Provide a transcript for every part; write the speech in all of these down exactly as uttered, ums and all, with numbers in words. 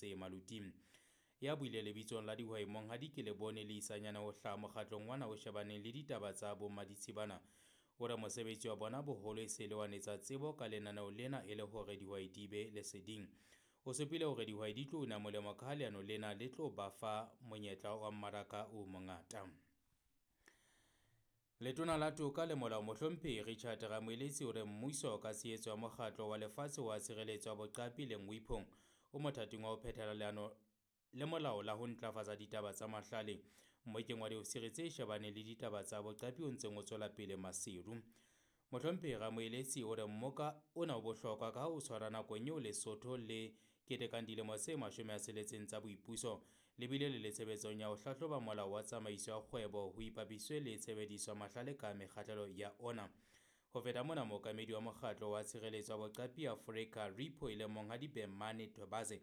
tse Maluti. Ya buile lebitsong la dihwai Monghadi Kelebone Leisanyane ho hlaha mokgatlong wana o shebaneng le ditaba tsa bommaditshibana. O re mosebetsi wa bona boholo e se le wa netsa tsebo ka lenaneo lena e le hore dihwai di be leseding. O supile hore dihwai di tlo una molemo ka ha leano lena le tlo ba fa monyetla wa mmaraka o mongata. Letona la Toka le Molao Mohlomphehi Richard Ramoeletsi o re mmuso ka tshehetso ya mokgatlo wa lefatshe wa tshireletso ya boqapi le WIPO o mothating wa ho phethela leano le molao la ho ntlafatsa ditaba tsa mahlale. Mmokeng wa diofisiri tse shebaneng le ditaba tsa boqapi o ntseng o tswela pele Maseru. Mohlomphehi Ramoeletsi o re mmoka ona o bohlokwa ka ha o tshwara nakong eo Lesotho le ketekang dilemo tse mashome a tsheletseng tsa boipuso le bile le le tshebetsong ya ho hlahloba molao wa tsamaiso ya kgwebo ho ipapiswe le tshebediso ya mahlale ka mekgahlelo ya ona. Ho feta mona, mookamedi wa mokgatlo wa tshireletso ya boqapi Afrika RIPO e leng Monghadi Bemane Twebaze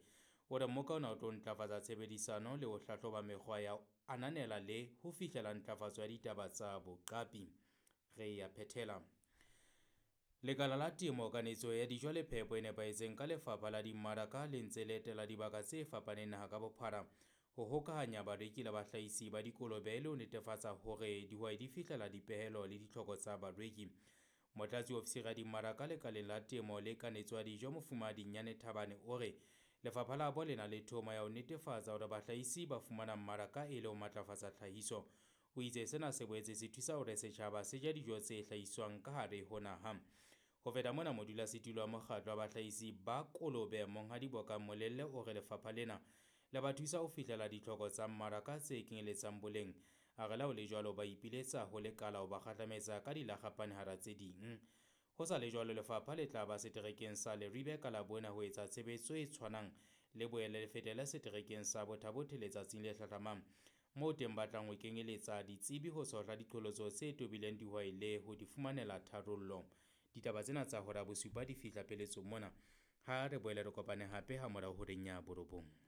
o re mmoka ona o tlo ntlafatsa tshebedisano le ho hlahloba mekgwa ya ho ananela le ho fihlela ntlafatso ya ditaba tsa boqapi. Re ya phethela. Lekala la Temo, Kanetso ya Dijo le Phepo e nepahetseng ka Lefapha la Dimmaraka le ntse le etela dibaka tse fapaneng naha ka bophara ho hokahanya bareki le bahlahisi ba dikolobe le ho netefatsa hore dihwai di fihlela dipehelo le ditlhoko tsa bareki. Motlatsi wa ofisiri ya dimmaraka lekaleng la Temo le Kanetso ya Dijo Mofumahadi Nyane Thabane o re lefapha la bo le na le thomo ya ho netefatsa hore bahlahisi ba fumana mmaraka e le ho matlafatsa tlhahiso. O itse sena se boetse se thusa hore setjhaba se je dijo tse hlahiswang ka hare ho naha. Ho feta mona, modulasetulo wa mokgatlo wa bahlahisi ba kolobe Monghadi Bokang Molelle o re lefapha lena le ba thusa ho fihlela ditlhoko tsa mmaraka tse kenyeletsang boleng. A re le ha ho le jwalo ba ipiletsa ho lekala ho ba kgahlametsa ka dilakgapane hara tse ding. Ho sa le jwalo, lefapha le tla ba seterekeng sa Leribe ka Labone ho etsa tshebetso e tshwanang le boele le fetele seterekeng sa Botha-Bothe letsatsing le hlahlamang, moo teng ba tlang ho kenyeletsa ditsebi ho tshohla diqholotso tse tobileng dihwai le ho di fumanela tharollo. Ditaba tsena tsa hora bosupa di fihla pheletsong mona. Ha re boele re kopane hape ha morao horeng ya borobong.